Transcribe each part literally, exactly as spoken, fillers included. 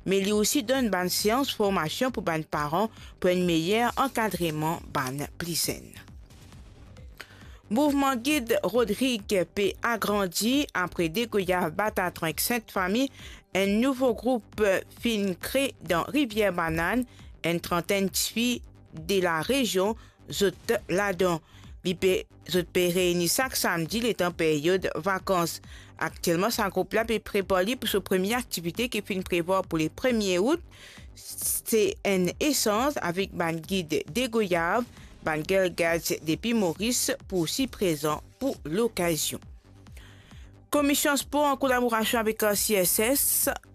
me li osi donn bann seans formasion pou bann paran pou enn meyer ankadreman bann pli zenn. Mouvman Gid Rodrig pe agrandi apre de goyav batatran ek Sint Fami, enn nouvo group finn kre dan Rivier Banane, enn trantenn tifi de la rezion zot ladan. Li pe, zot pe reyni sak samdi letan peryod vakans. Aktielman, sa group la pe prepar li pou so premie aktivite ki finn prevwar pou le premie out, se enn esanz avek bann gid de goyav, bann girl guides depi Moris pou osi prezan pou lokazion. Komision Spor, an kolaborasion avek C S S,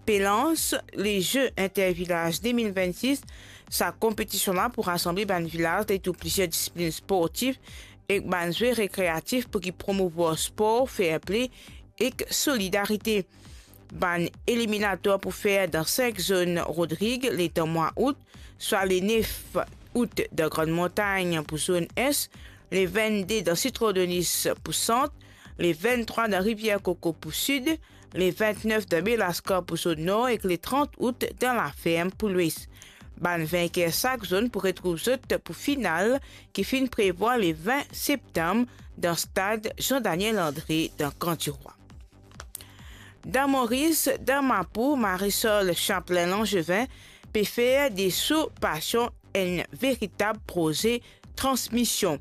pe lans le Jeux Intervillages de mil vennsis. Sa konpetision la pou rasanble bann vilaz dan tou plizier disiplinn sportif ek bann zwe rekreatif pou ki promouvwar spor, fair play ek solidarite. Bann eliminatwar pou fer dan sink zonn Rodrig letan mwa out, swa le nef out dan Grann Montagn pou zonn Es, le vennde dan Sitron Donis pou Sant, le venntrwa dan Rivier Koko pou Sid, le ventnef dan Belaskan pou zonn Nor ek le trant out dan Laferm pou Lwes. Bann vinker sak zonn pou retrouv zot pou final ki finn prevwar le vin septam dan stad Jean Daniel André dan Kan Dirwa. Dan Moris, dan Mapou, Marisol Chaplin Langevin pe fer de so pasion enn veritab proze transmision.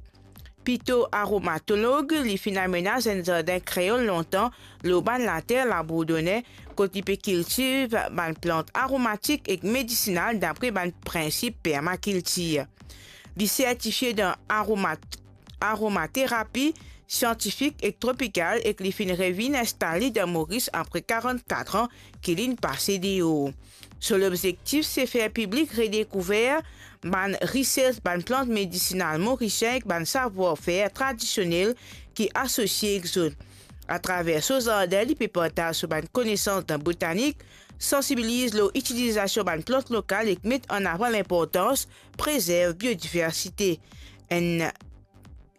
Pito aromatolog, li finn amenaz enn zardin kreol lontan lor bann later Labourdonnais, kot li pe kiltiv bann plant aromatik ek medisinal dapre bann prinsip permakiltir. Li sertifie dan aromat-, aromaterapi siantifik ek tropikal ek li finn revinn instale dan Moris apre karant-kat an ki linn pase deor. So lobzektif se fer piblik redekouver bann rises bann plant medisinal morisien ek bann savwar-fer tradisionel ki asosie ek zot. Atraver so zardin, li pe partaz so bann konesans dan botanik, sansibiliz lor itilizasion bann plant lokal ek met an avan linportans prezerv biodiversite. Enn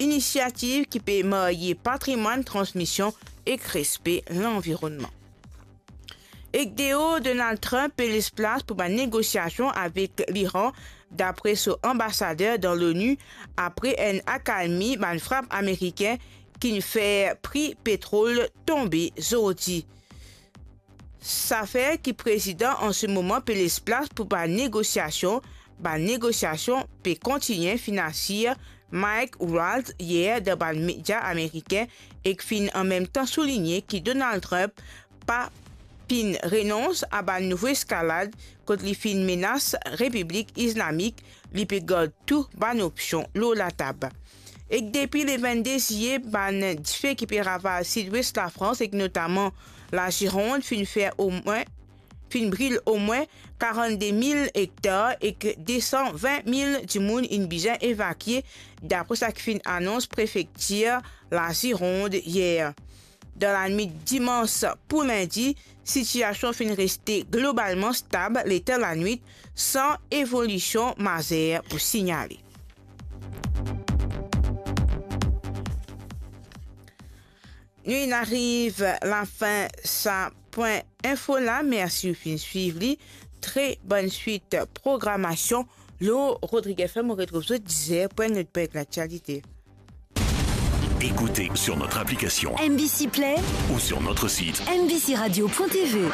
inisiativ ki pe marye patrimwann, transmision ek respe lanvironnman. Ek deor, Donald Trump pe les plas pou bann negosiasion avek Liran, dapre so anbasader dan l'ONU, apre enn akalmi bann frap amerikin ki'nn fer pri petrol tonbe zordi. Sa fer ki prezidan an se moman pe les plas pou bann negosiasion. Bann negosiasion pe kontigne, finn asir Mike Waltz yer dan bann media amerikin, ek finn anmemtan souligne ki Donald Trump pa finn renons a bann nouvo eskalad kot li finn menas Repiblik Islamik, li pe gard tou bann opsion lor latab. Ek depi le vennde ziye, bann dife ki pe ravaz sidwes Lafrans, ek notaman Lazirond, finn fer omwin, finn bril omwin karannde mil ektar ek de san vin mil dimoun inn bizin evakie, dapre sa ki finn anons prefektir Lazirond yer. Dan lanwit dimans pou lindi, sitiasion finn reste globalman stab letan lanwit, san evolision mazer pou signale. Nou inn ariv lafin sa pwin info la. Mersi ou finn swiv li. Tre bonn swit programasion lor Rodrig F M. Ou retrouv zot dizer pou enn lot pwin laktialite. Écoutez sur notre application M B C Play ou sur notre site M B C radio point T V.